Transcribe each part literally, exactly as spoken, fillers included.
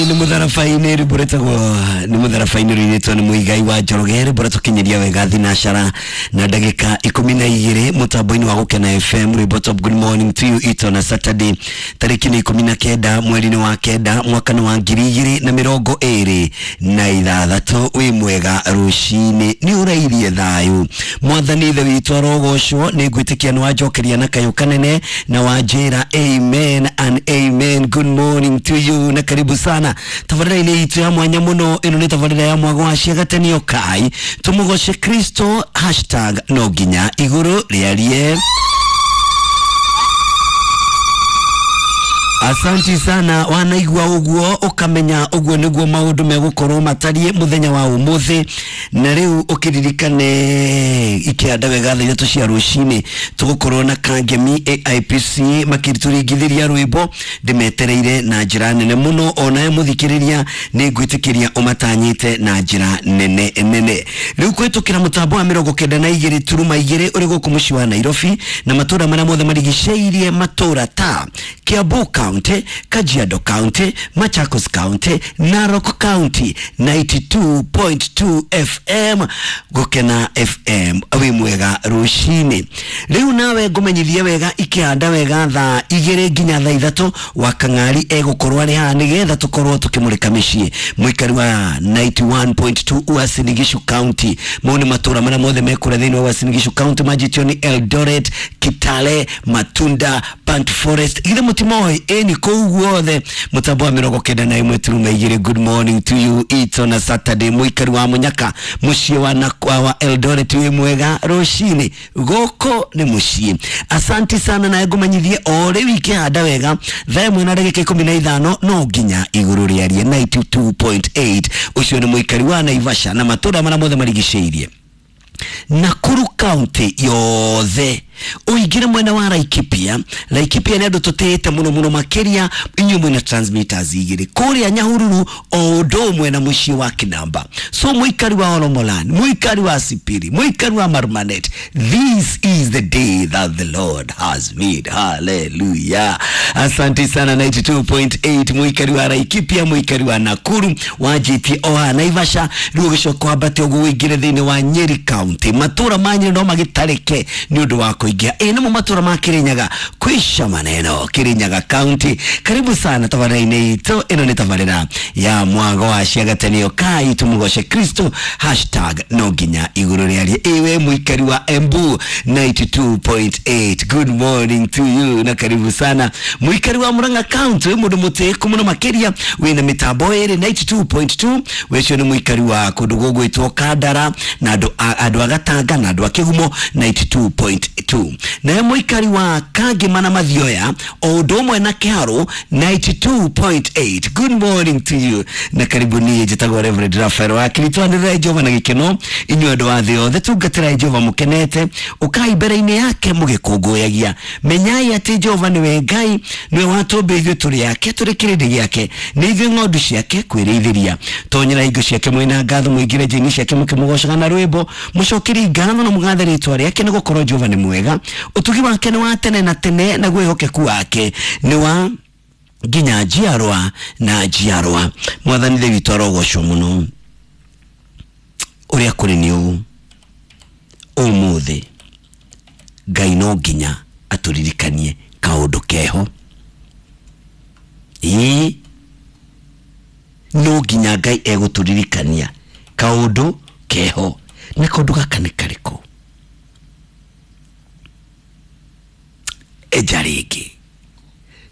Nĩ mũtharabainĩ rwĩmbo rwĩtagwo nĩ mũtharabainĩ rũinĩtwo nĩ Mũigai wa Njoroge, rwĩmbo rũtũkinyĩria wega thinacara na ndagĩka ikũmi na igĩrĩ mũtambo-inĩ wa Gũkena F M, rwĩmbo top. Good morning to you. Ito na Saturday, tarĩki nĩ ikũmi na kenda mweri-inĩ wa kenda mwaka nĩ wa ngiri igĩrĩ na mĩrongo ĩrĩ na ithathatũ. Wĩ mwega rũcinĩ, nĩ ũrairie thayũ, mwathani ithe witũ arogocwo. Nĩ ngwĩtĩkia nĩ wanjokeria na kayũ kanene na wanjĩra amen and amen. Good morning to you na karibu sana tabarĩra-inĩ itũ ya mwanya mũno. Ĩno nĩ tabarĩra ya mwago wa ciagatanio kai tũmũgoce Kristo, hashtag no nginya igũrũ rĩarie. Asanti sana. Wanaigua ũguo ũkamenya ũguo nĩguo maũndũ megũkorwo matariĩ mũthenya wa ũmũthĩ. Na rĩu ũkĩririkane ikĩanda wega thaa ithatũ cia rũcinĩ tũgũkorwo na Kangemi A I P C makĩtũringithĩria rwĩmbo. Ndĩmetereire na njĩra nene mũno, onawe mũthikĩrĩria nĩ ngwĩtĩkĩria ũmatanyĩte na njĩra nene nene. Rĩu kũhĩtũkĩra mũtambo wa mĩrongo kenda na igĩrĩ turuma igĩrĩ ũrĩ gũkũ mũciĩ wa Nairobi na matũra marĩa mothe marigicĩirie, matũra ta Kiambu County, Kajiado County, Machakos County, Narok County, ninety-two point two F M, Gukena F M. Wĩ mwega rũcinĩ. Rĩu nawe ngũmenyithie wega ikĩhanda wega thaa igĩrĩ nginya thaa ithatũ wa Kang'ari egũkorwo arĩ haha nĩgetha tũkorwo tũkĩmũrĩka mĩciĩ. Mũikari wa ninety-one point two Uasin Gishu County, mau nĩ matũra marĩa mothe mekũrĩa thĩinĩ wa Uasin Gishu County, manjĩtio nĩ Eldoret, Kitale, Matunda, Burnt Forest, githĩ mũtimoĩ ĩni kũu guothe mũtambo wa mĩrongo kenda na ĩmwe turuma igĩrĩ. Good morning to you. It's on a Saturday. Mũikari wa Mũnyaka, mũciĩ wa Nakwa wa Eldoret, wĩ mwega rũcinĩ, gũkũ nĩ mũciĩ. Asanti sana. Nawe ngũmenyithie o rĩu ikĩhanda wega thaa ĩmwe na ndagĩka ikũmi na ithano no nginya igũrũ rĩarie ninety-two point eight. Ũcio nĩ mũikari wa Naivasha na matũra marĩa mothe marigicĩirie, Nakuru County yothe, ũingĩre mwena wa Laikipia. Laikipia nĩ andũ tũtĩĩte mũno mũno makĩria, inyuĩ mwĩna transmitters igĩrĩ kũrĩa Nyahururu o ũndũ ũmwe na mũciĩ wa Kinamba. So mũikari wa Olomolan, mũikari wa Sipiri, mũikari wa Marmanet, this is the day that the Lord has made. Hallelujah. Asante sana. ninety-two point eight, mũikari wa Laikipia, mũikari wa Nakuru, wanjĩtie o haha Naivasha. Rĩu ũgĩcoka wambate ũguo ũingĩre thĩinĩ wa Nyeri County, matũra ma Nyeri no magĩtarĩke nĩ ũndũ wa kũingĩha. Ĩ nĩmo matũra ma Kirinyaga, kwisha maneno Kirinyaga County. Karibu sana tabarĩra-inĩ itũ. Ĩno nĩ tabarĩra ya mwago wa ciagatanio kai tũmũgoce Kristo, hashtag no nginya igũrũ rĩarie. Ĩwe mũikari wa Embu, ninety-two point eight, good morning to you na karibu sana. Mũikari wa Murang'a County, wĩ mũndũ mũtĩĩku mũno makĩria, wĩna mĩtambo ĩrĩ ninety-two point two. Wecio nĩ mũikari wa kũndũ gũgwĩtwo Kandara na andũ a andũ a Gatanga na andũ a Kĩgumo, ninety-two point two. Naye mũikari wa Kangema na Mathioya o ũndũ ũmwe na Kĩharũ, ninety-two point eight, good morning to you na karibu. Niĩ njĩtagwo Reverend Rafael Wakiri. Twanĩrĩrai Jehova na gĩkeno, inyuĩ andũ a thĩ yothe, tungatĩrai Jehova mũkenete, ũkai mbere-inĩ yake mũgĩkũngũyagia. Menyai atĩ Jehova nĩwe Ngai, nĩwe watũmbire, ithuĩ tũrĩ ake, tũrĩ kĩrĩndĩ gĩake, nĩ ithuĩ ng'ondu ciake kwĩrĩithĩria. Tonyera hingo ciake mwĩna ngatho, mũingĩre njĩra-inĩ ciake mũkĩmũgocaga na rwĩmbo, mũcokerie ngatho na mũgathe rĩtwa rĩake, nĩ gũkorwo Jehova nĩ mwega, ũtugi wake nĩ wa tene na tene, naguo wĩhokeku wake nĩ wa nginya njiarwa na njiarwa. Mwathani ithe witũ arogocwo mũno. Ũrĩa kũrĩ nĩ ũũ, ũmũthĩ Ngai no nginya atũririkanie kaũndũ keho. Ĩĩ, no nginya Ngai egũtũririkania kaũndũ keho. Na kaũndũ gaka nĩ karĩkũ? Enja rĩngĩ,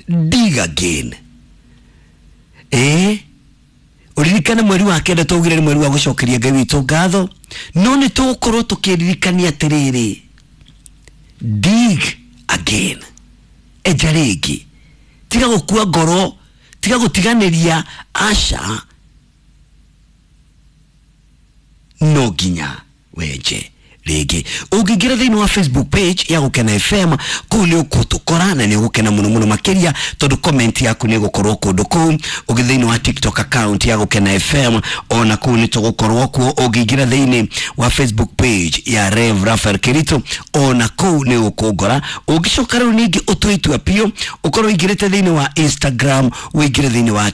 dig again. Ĩĩ, ũririkane mweri wa kenda twaugire nĩ mweri wa gũcokeria Ngai witũ ngatho, no nĩ tũgũkorwo tũkĩririkania atĩrĩrĩ, dig again, enja rĩngĩ, tiga gũkua ngoro, tiga gũtiganĩria. Aca, no nginya wenje rĩngĩ. Ũngĩingĩra thĩinĩ wa Facebook page ya Gũkena F M, kũu nĩ ũgũtũkora na nĩ ũgũkena mũno mũno makĩria, tondũ comment yaku nĩ ĩgũkorwo kũndũ kũu. Ũgĩ thĩinĩ wa TikTok account ya Gũkena F M, ona kũu nĩ tũgũkorwo kuo. Ũngĩingĩra thĩinĩ wa Facebook page ya Rev Rafael Kirito, ona kũu nĩ ũkũngora. Ũngĩcoka rĩu ningĩ ũtue itua biũ ũkorwo ũingĩrĩte thĩinĩ wa Instagram, ũingĩre thĩinĩ wa